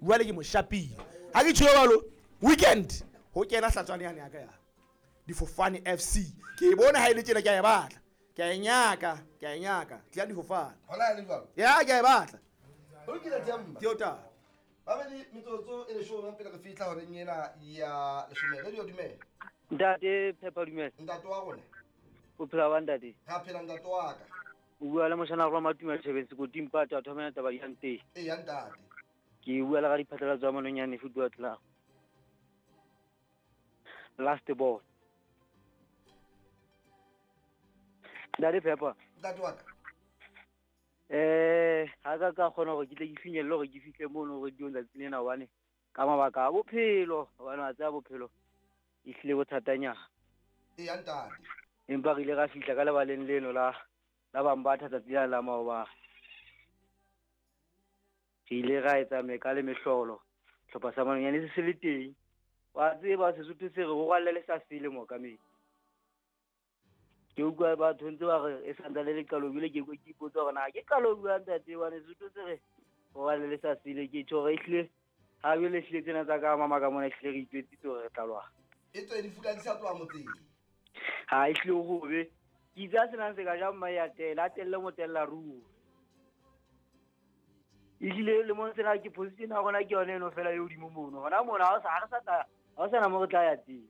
Jwale ke mo shapile. Ha ke tjho jwalo, weekend ho kena hlatswane yane ya ka ya Difofane FC. Ke e bona ha e le tjena, ke a e batla. Ke a e nyaka, ke a e nyaka. Tla Difofane. Hona e le jwalo. Ya, ke a e batla. Ho lokile, Themba. Ke o taba. Babedi metsotso e 10 pele re fihla horeng ena ya 10. Radio, dumela. Ntate Phepa, dumela. Ntate wa rona. O phela wa, ntate? Ra phela, ntate wa ka. O bua le moshana wa Matuma Thabeng Sekoting Pata a thomela taba ya nteng. Ee ya, ntate. Ke bua le ga diphatlalatso tsa Mononyane Football Club. Last ball. Ntate Phepa. Ntate wa ka. Ha ka ka kgona hore ke tle ke finyelle hore ke fihle mono radio letsatsi lena, hobane ka mabaka a bophelo, hobane wa tseba bophelo e hlile bothatanyana. Ee ya, ntate. Empa re ile ra fihla ka lebaleng leno la Bambatha tsatsi la la maobane. Re ile ra etsa meka le mehlolo, hlopha sa Mononyane se se le teng. Wa tseba Sesotho se re ho rwalle le sa sele mookamedi. Ke utlwa batho ntse ba re e santsane le qalong, ebile ke ke ipotsa hore na ke qalong jwang, ntate, hobane Sesotho se re ho rwalle le sa sele. Ke tjho hore ehlile ha jwale ehlile tsena tsa ka mama ka mona, ehlile re itjwetsitse hore re tla lwana. E tswe difula di sa tloha motseng. Ha ehlile ho hobe. Ke itse a senang se ka ja mma ya tela, a telle motella ruri. Ehlile lemong sena ke position ya rona ke yone eno fela e hodimo mono. Hona mona ha o sa ha re sa tla, ha ho sana mo re tla ya teng.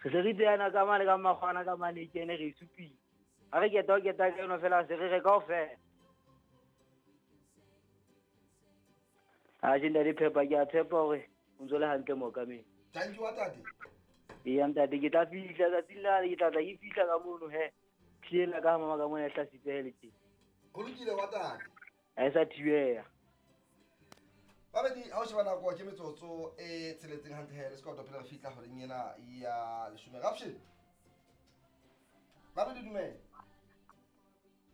Re se re tseyana ka mane ka makgwana ka mane e kene re e supile. Ha re keta ho keta ka eno fela se re re kaofela. Atjhe, ntate Phepa, ke a tshepa hore o ntso le hantle, mookamedi. Thank you wa tate. Eya ntate, ke tla fihla tsatsing lane, ke tla tla ke fihla ka mono he. Tlile ka mama ka mona e hlasitse le teng. Ho lokile wa tate. Ha e sa thibeha. Babedi, ha o sheba nako ke metsotso e 6 hantle he le sekoto pele re fihla horeng ena ya 10. Rapshin. Babedi, dumela.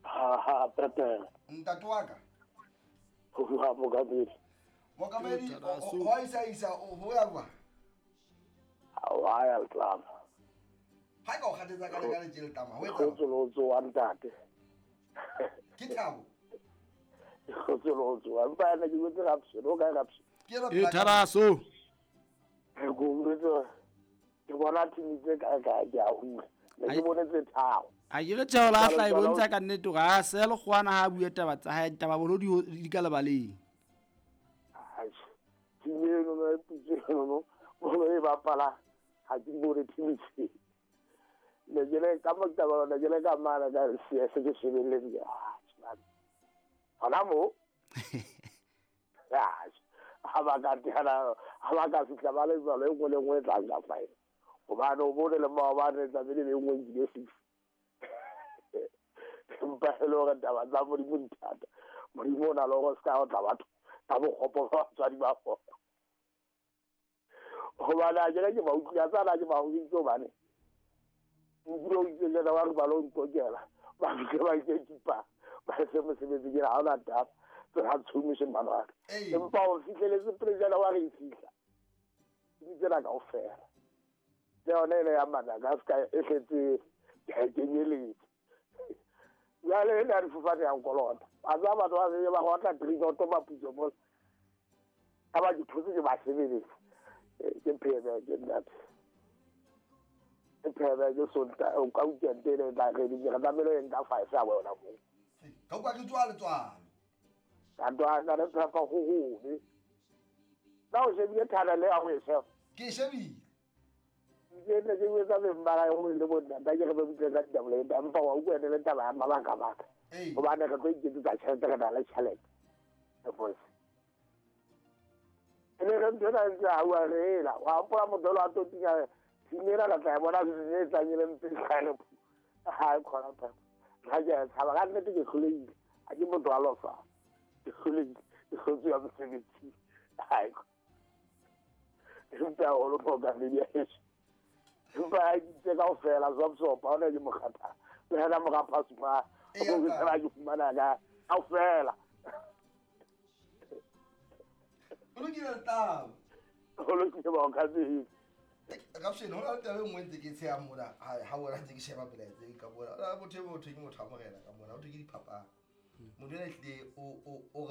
Ha ha, Pepe. Ntate wa ka. Ho bua mookamedi. Mookamedi, ho isa isa ho ya kwa. Ha wa ya tlama. Ha ka o kgathetsa ka le ka le tama. Ho etsa. Kgotso le ho tsoha, ntate. Ke thabo. Kgotso le ho tsoha. Empa yana ke botse Rapshin, o kae Rapshin? Ke elo E pela ka- tharaso. Ke utlwetse ke bona team tse kae kae, ke a hula. Ne ke bone tse tharo. A ke re tjheo la hla e bontsha ka nnete hore a se le kgwana ha a bue taba tsa hae, taba bolo di ka lebaleng. Atjhe. Team eno no e putse eno no. Bolo e bapala ha ke bone team tse. Ne ke le ka mo taba, ne ke le ka mane ka CS ke shebelletse ke ah, man. Hona mo. Ah, ha ba ka teana, ha ba ka fihla ba le jwalo, e nngwe le nngwe e tla nka five. Hobane o bone le maobane tlamehile be nngwe nkile six. Empa e le hore taba tsa Modimo di thata. Modimo o na le hore se ka otla batho ka bokgopo ba batswadi ba bona. Hobane ha ke re ke ba utlwile, a tsana ke ba hoditse hobane nkile o itse jana ba re ba lo nkokela, ba fihle ba nke kipa, ba etse mosebetsi, ke re ha hona taba, tsena tshomise ngwana wa ka. Ee. Empa o fihleletse pele jana wa re e fihla. Di tsena kaofela. Le yona ena ya Madagascar e hletse ke a e kenyeletse. Jwale ena ya difofane ya nkolota. Wa tseba batho ba se ba otla three noto maputso mola. Ha ba ke thotse ke ba sebeletsa. Ke phebe ke nnate. Ke phebe ke Sontaha, o ka weekend ena e tla re di re tlamehile o ye nka five ya bona moo. Ka utlwa ke tswa letswalo. Ka twa ka re phepa ho hobe. Na o shebile thana le ya ho e sheba? Ke e shebile. Ke ne ke etsa beng ba hae ho le bo ntate, ke re ba butle ka ditaba le empa wa utlwa ene le taba ya mabaka baka. Ee. Hobane re tlo iketsetsa tjhelete, re na le tjhelete. E bose. E ne re ntho ena ntse ha bua re ela. Wa hopola motho elo a tlo tinya team ena re tla e bona season e tlang e le mpe e le. Ha e khona phepa. Ha ke a tshaba ka nnete, ke hlolehile. Ha ke motho wa lofa. Ke hlolehile. Ke hlotswe ya mosebetsi. Ha e empa haholo mookamedi ya heso. Empa ha ke itse kaofela Zopzopa, ha ona ke mokgathala. Le yena mora Phasuma, Ee, o ke ntate. tseba ke fumana ka kaofela. Ho lokile letaba. Ho lokile mookamedi. Rapshin, ho na le taba e nngwe ntse ke tshehang mona ha wena ntse ke sheba melaetsa e ka mona. Ho na le motho e motho ke motho wa morena ka mona, ho thwe ke diphapang. Motho ena ehlile o re